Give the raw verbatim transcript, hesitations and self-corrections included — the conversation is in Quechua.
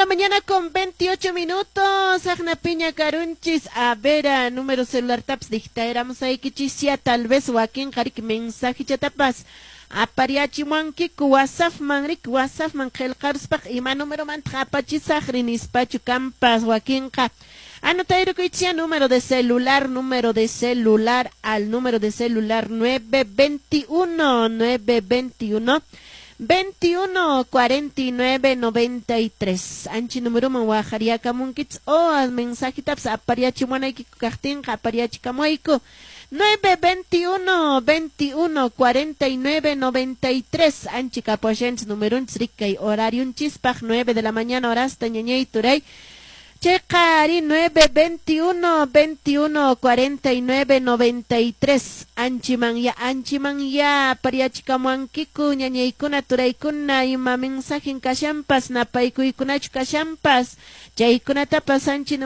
la mañana con veintiocho minutos. Agna piña karunchis. A ver, a número celular taps dictaéramos ahí kichisia. Tal vez wakin qarik mensaje chatapas. Apariachimuankiku WhatsApp man rik WhatsApp man qillqaruspaq ima número mantaq apachisaq rinispachu kampas wakinqa. Anotayrukuichia número de celular, número de celular al número de celular nueve veintiuno, nueve veintiuno, veintiuno cuarenta y nueve noventa y tres. Anchi número man wajariakamunkits o al mensaje taps apariachimuanaykiku kaqtinqa apariachikamuayku. nueve veintiuno, veintiuno cuarenta y nueve noventa y tres. Anchi kapuashanchis numerunchis rikay horariunchispaq nueve de la mañana horasta ñañay turay. Chayqari nueve veintiuno, veintiuno cuarenta y nueve noventa y tres. Anchiman ya, anchiman ya, pariachikamuankiku, ñañaykuna, turaykuna, ima mensajen kashampas, napaykuykunachu kashampas, chaykunatapas anchi